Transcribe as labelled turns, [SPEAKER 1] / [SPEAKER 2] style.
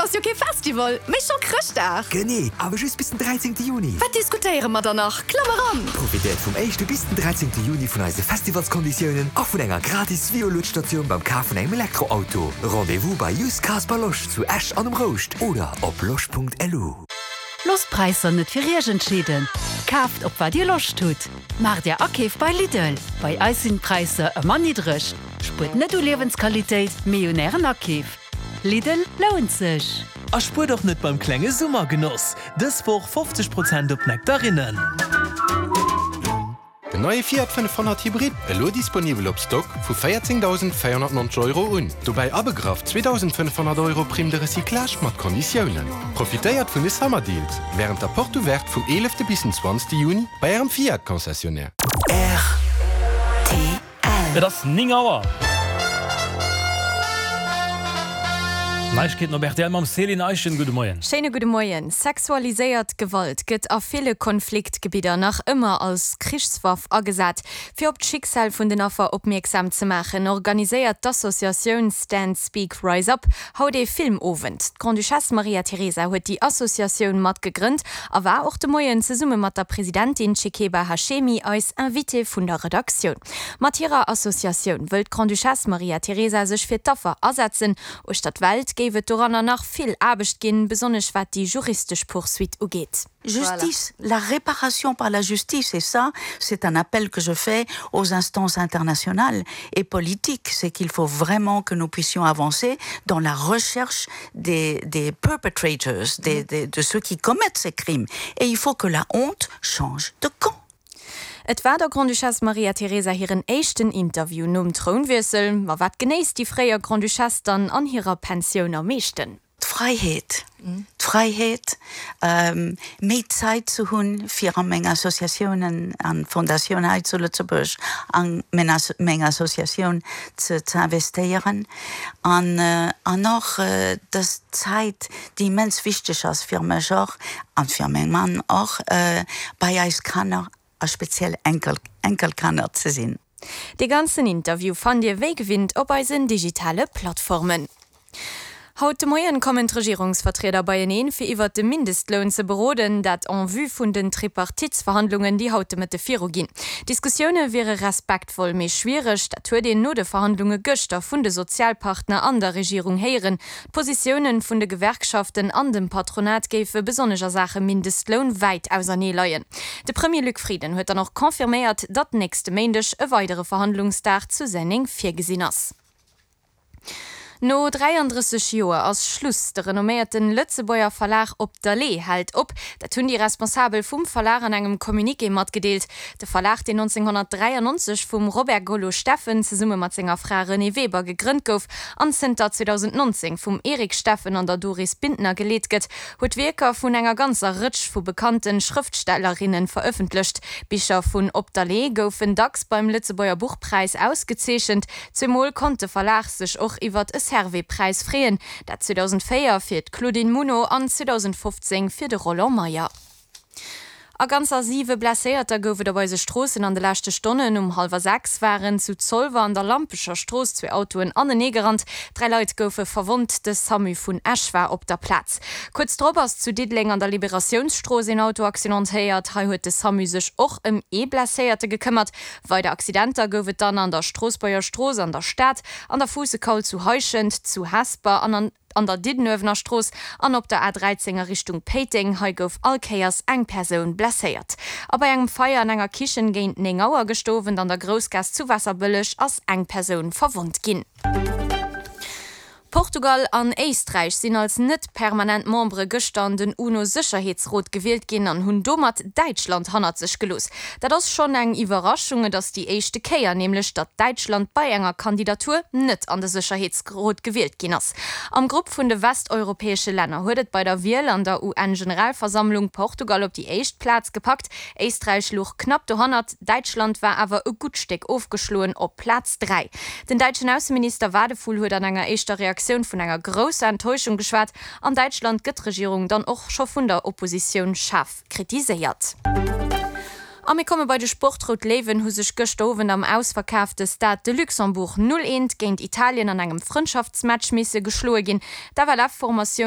[SPEAKER 1] ass jo kee Festival, mee scho Chrëschtdag!
[SPEAKER 2] Genee, awer just bis den 13 Juni!
[SPEAKER 1] Wat diskutéiere mer dann nach? Klamm eran!
[SPEAKER 2] Profitéiert vum éischte bis den 13 Juni vun eise Festivalskonditiounen a vun enger gratis Vio-Luedstatioun beim Kaf vun engem Elektroauto. Rendez-vous bei Used Cars by Losch zu Esch an um Rouscht oder op losch.lu.
[SPEAKER 3] Loosst d'Präisser net fir Iech entscheeden, kaaft op wat Dir Loscht hutt. Maacht Är Akeef bei Lidl, bei eis sinn d'Präisser ëmmer niddreg. Spuert net u Liewensqualitéit, mee un Ären Akeef. Lidl lount sech!
[SPEAKER 4] A spuert och net beim klenge Summergenoss! Dës Woch 50 Prozent op Nektarinnen.
[SPEAKER 5] Den neie Fiat 500 Hybrid, elo disponibel op Stock vu 14.490 Euro un. Dobäi abegraff 2.500 Euro Prime de recyclage mat Konditiounen. Profitéiert vun de Summer Deals wärend der Porte Ouverte vum 11 bis den 20 Juni bei ärem Fiat Concessionnaire.
[SPEAKER 6] Rtl.
[SPEAKER 7] Et ass 9 Auer. Neiegkeeten op rtl mam Céline Eischen. Gudde Moien.
[SPEAKER 8] Schéine gudde Moien. Sexualiséiert Gewalt gëtt a ville Konfliktgebidder nach ëmmer als Krichswaff agesat. Fir op d'Schicksal vun den Affer opmierksam ze maachen, organiséiert d'Associatioun Stand Speak Rise Up haut ee Filmowend. D'Grande-Duchesse Maria Teresa huet déi Associatioun mat gegrënnt a war och de Moien zesumme mat der Presidentin Chekeba Hashemi eis Invitée vun der Redaktioun. Mat hirer Associatioun wëll d'Grande-Duchesse Maria Teresa sech fir d'Affer asetzen. Uechter d'Welt géif et doranner nach vill Aarbecht ginn, besonnesch wat déi juristesch Poursuite ugeet.
[SPEAKER 9] Justice, la réparation par la justice et ça c'est un appel que je fais aux instances internationales et politiques, c'est qu'il faut vraiment que nous puissions avancer dans la recherche des, des perpetrators, des, des, de ceux qui commettent ces crimes et il faut que la honte change de camp.
[SPEAKER 8] Et war der Grande-Duchesse Maria Teresa hiren éischten Interview nom Trounwiessel. Ma wat genéisst déi fréier Grande-Duchesse dann an hirer Pensioun am meeschten?
[SPEAKER 9] D'Fräiheet, d'Fräiheet, méi Zäit ze hunn, fir a meng Associatiounen an Fondatioun hei zu Lëtzebuerg a meng Associatioun ze investéieren an an och dës Zäit, déi immens wichteg ass fir mech och an fir meng Mann och, bei eis Kanner a speziell Enkel, Enkelkanner ze sinn.
[SPEAKER 8] Dee ganzen Interview fannt Dir wéi gewinnt op eisen digitale Plattformen. Haut de Moien kommen d'Regierungsvertrieder beieneen, fir iwwert de Mindestloun ze beroden. Dat en vue vun den Tripartitsverhandlungen, déi haut de Mëtte viru ginn. D'Diskussioune wiere respektvoll, mee schwiereg. Dat huet een no de Verhandlunge gëschter vun de Sozialpartner an der Regierung héieren. D'Positiounen vun de Gewerkschaften an dem Patronat géife besonnesch a Saache Mindestloun wäit ausernee leien. De Premier Luc Frieden huet dann och confirméiert, datt nächste Méindeg e weidere Verhandlungsdag zu Senneng virgesinn ass. No 33 Joer ass Schluss, De renomméierten Lëtzebuerger Verlag Op der Lee hält op. Dat hunn déi Responsabel vum Verlag an engem Communiqué matgedeelt. De Verlag, deen 1993 vum Robert Gollo Steffen zesumme mat senger Fra Renée Weber gegrënnt gouf an zënter 2019 vum Eric Steffen an der Doris Bintner geleet gëtt, huet Wierker vun enger ganzer Rëtsch vu bekannte Schrëftstellerinne verëffentlecht. Bicher vun Op der Lee goufen dacks beim Lëtzebuerger Buchpräis ausgezeechent. Zweemol konnt de Verlag sech och iwwert e Servais-Präis freeën, dat 2004 fir d'Claudine Muno an 2015 fir de Roland Meyer. A ganzer siwe Blesséierter gouf et op eise Stroossen an de leschte Stonnen. Um hallwer 6 waren zu Zolwer an der Lampecher Strooss zwee Autoen aneneegerannt. Dräi Leit goufe verwonnt. De Samu vun Esch war op der Plaz. Kuerz drop ass zu Diddeleng an der Liberatiounsstrooss een Auto accidentéiert. Hei huet de Samu sech och ëm ee Blesséierte gekëmmert. Weider Accidenter gouf et dann an der Stroossbuerger Strooss an der Stad, an der Fuussekaul zu Heischent, zu Hesper an an an der Diddenuewener Strooss an op der A 13 a Richtung Péiteng. Hei gouf all Kéiers eng Persoun blesséiert. A bei engem Feier an enger Kichen géint 9 Auer gëscht Owend an der Groussgaass zu Waasserbëlleg ass eng Persoun verwonnt ginn. Portugal an Éisträich sinn als net permanent Membere gëschter an den UNO-Sécherheetsrot gewielt ginn an hunn domat Däitschland hannert sech gelooss. Dat ass schonn eng Iwwerraschung, et ass déi éischte Kéier nämlech, datt Däitschland bei enger Kandidatur net an de Sécherheetsrot gewielt ginn ass. Am Grupp vun de westeuropäesche Länner huet et bei der Wiel an der UN-Generalversammlung Portugal op déi éischt Plaz gepackt, Éisträich luch knapp dohannert. Däitschland war awer e gutt Stéck ofgeschloen op Plaz 3. Den däitschen Ausseminister Wadephul huet an enger éischter Reaktioun vun enger grousser Enttäuschung geschwat. An Däitschland gëtt d'Regierung dann och scho vun der Oppositioun schaarf kritiséiert. A mir komme bei de Sport, Rout Léiwen hu sech gëschter Owend am ausverkaafte Stade de Luxembourg 0, 1 géint Italien an engem Frëndschaftsmatch misse geschloe ginn. D'FLF-Formatioun.